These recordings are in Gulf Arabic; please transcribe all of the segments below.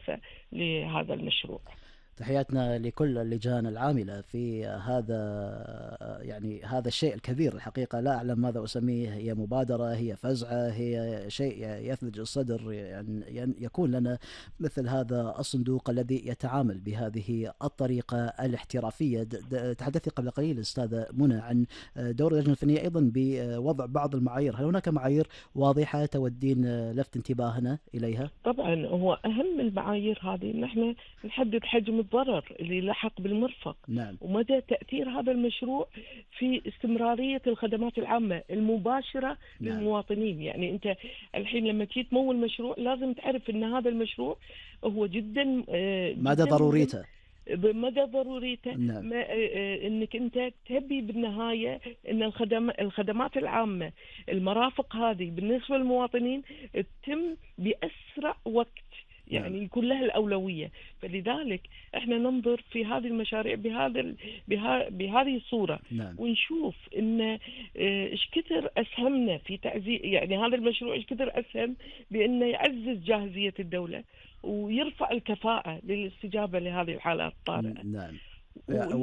كافة لهذا المشروع. تحياتنا لكل اللجان العاملة في هذا، يعني هذا الشيء الكبير الحقيقة. لا أعلم ماذا أسميه، هي مبادرة، هي فزعة، هي شيء يثلج الصدر، يعني يكون لنا مثل هذا الصندوق الذي يتعامل بهذه الطريقة الاحترافية. تحدثي قبل قليل أستاذة منى عن دور اللجنة الفنية أيضا بوضع بعض المعايير. هل هناك معايير واضحة تودين لفت انتباهنا إليها؟ طبعا هو أهم المعايير هذه إن احنا نحدد حجم الضرر اللي لحق بالمرفق، نعم. ومدى تأثير هذا المشروع في استمرارية الخدمات العامة المباشرة نعم. للمواطنين. يعني أنت الحين لما تيجي تمول مشروع لازم تعرف أن هذا المشروع هو جدا مدى جدا مهم، ضروريته. بمدى ضروريته. نعم. انك انت تبي بالنهايه ان الخدمات العامه، المرافق هذه بالنسبه للمواطنين تتم باسرع وقت، نعم. يعني يكون لها الاولويه. فلذلك احنا ننظر في هذه المشاريع بهذه الصوره. نعم. ونشوف ان ايش كثر اسهمنا في تعزيز، يعني هذا المشروع ايش كثر اسهم بانه يعزز جاهزيه الدوله ويرفع الكفاءة للاستجابة لهذه الحالات الطارئة. نعم. ونحن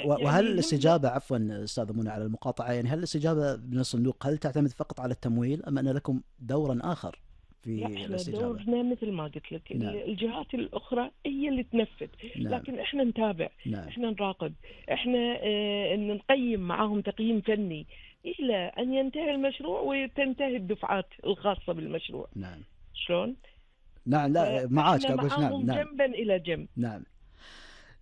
وهل يعني الاستجابة، عفوا أستاذ منى على المقاطعة، يعني هل الاستجابة من الصندوق هل تعتمد فقط على التمويل أم أن لكم دورا آخر لا، في احنا الاستجابة؟ دورنا مثل ما قلت لك نعم. الجهات الأخرى هي اللي تنفذ، نعم. لكن احنا نتابع، نعم. احنا نراقب، احنا نقيم معاهم تقييم فني إلى أن ينتهي المشروع وتنتهي الدفعات الخاصة بالمشروع. نعم. شلون؟ نعم. لا معاك فاحنا أقول نعم. معاهم نعم. جنبا إلى جنب. نعم.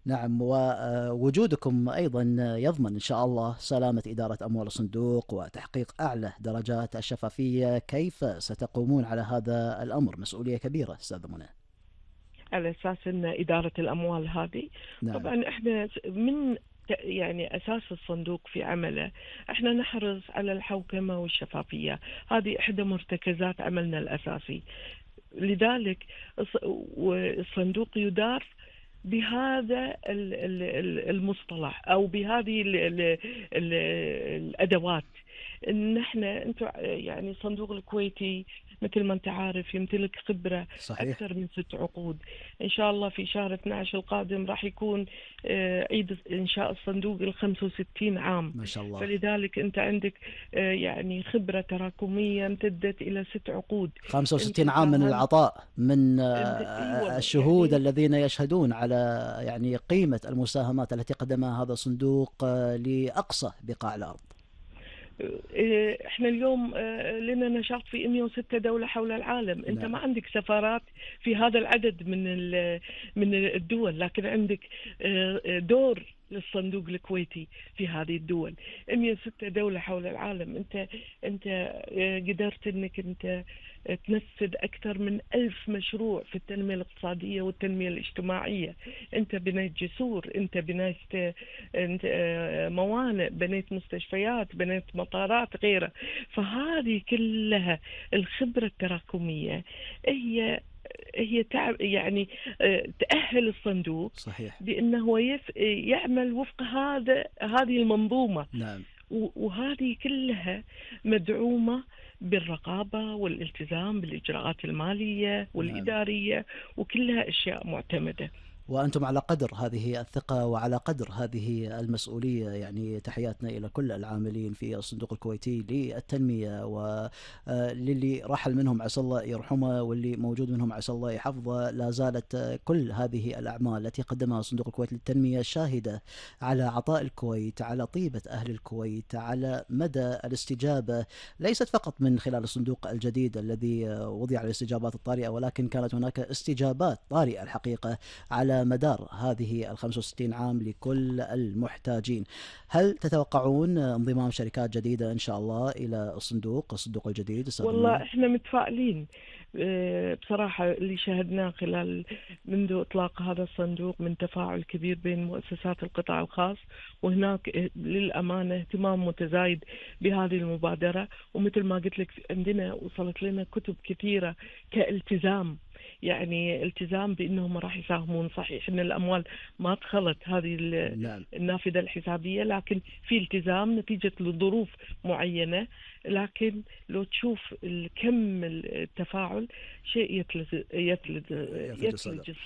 نعم. ووجودكم أيضا يضمن إن شاء الله سلامة إدارة أموال الصندوق وتحقيق أعلى درجات الشفافية. كيف ستقومون على هذا الأمر؟ مسؤولية كبيرة أستاذ منى. على أساس أن إدارة الأموال هذه، نعم. طبعا إحنا من يعني أساس الصندوق في عمله إحنا نحرص على الحوكمة والشفافية، هذه إحدى مرتكزات عملنا الأساسي. لذلك الصندوق يدار بهذا المصطلح أو بهذه الأدوات. إن إحنا أنتم يعني الصندوق الكويتي مثل ما أنت عارف يمتلك خبرة صحيح. أكثر من 6 عقود. إن شاء الله في شهر 12 القادم راح يكون عيد إنشاء الصندوق 65 عام. ما شاء الله. فلذلك أنت عندك يعني خبرة تراكمية امتدت إلى 6 عقود. 65 عام من العطاء، من الشهود يعني الذين يشهدون على يعني قيمة المساهمات التي قدمها هذا الصندوق لأقصى بقاع الأرض. احنا اليوم لنا نشاط في 106 دولة حول العالم. انت نعم. ما عندك سفارات في هذا العدد من الدول، لكن عندك دور للصندوق الكويتي في هذه الدول. 106 دولة حول العالم. انت قدرت انك انت تنفذ أكثر من 1000 مشروع في التنمية الاقتصادية والتنمية الاجتماعية. أنت بنيت جسور، أنت بنيت موانئ، بنيت مستشفيات، بنيت مطارات غيره. فهذه كلها الخبرة التراكمية هي يعني تأهل الصندوق. صحيح. بأنه يعمل وفق هذه المنظومة. نعم. وهذه كلها مدعومة بالرقابة والالتزام بالإجراءات المالية والإدارية، وكلها أشياء معتمدة. وأنتم على قدر هذه الثقة وعلى قدر هذه المسؤولية. يعني تحياتنا إلى كل العاملين في الصندوق الكويتي للتنمية، وللي رحل منهم عسى الله يرحمه، واللي موجود منهم عسى الله يحفظه. لا زالت كل هذه الأعمال التي قدمها صندوق الكويت للتنمية شاهدة على عطاء الكويت، على طيبة أهل الكويت، على مدى الاستجابة، ليست فقط من خلال الصندوق الجديد الذي وضع للاستجابات الطارئة، ولكن كانت هناك استجابات طارئة الحقيقة على مدار هذه 65 عام لكل المحتاجين. هل تتوقعون انضمام شركات جديدة إن شاء الله إلى الصندوق الجديد؟ والله إحنا متفائلين بصراحة. اللي شاهدناه خلال منذ إطلاق هذا الصندوق من تفاعل كبير بين مؤسسات القطاع الخاص، وهناك للأمانة اهتمام متزايد بهذه المبادرة. ومثل ما قلت لك عندنا وصلت لنا كتب كثيرة كالتزام، يعني التزام بأنهم راح يساهمون. صحيح أن الأموال ما دخلت هذه النافذة الحسابية، لكن في التزام نتيجة لظروف معينة. لكن لو تشوف الكم التفاعل شيء يثلج الصدر.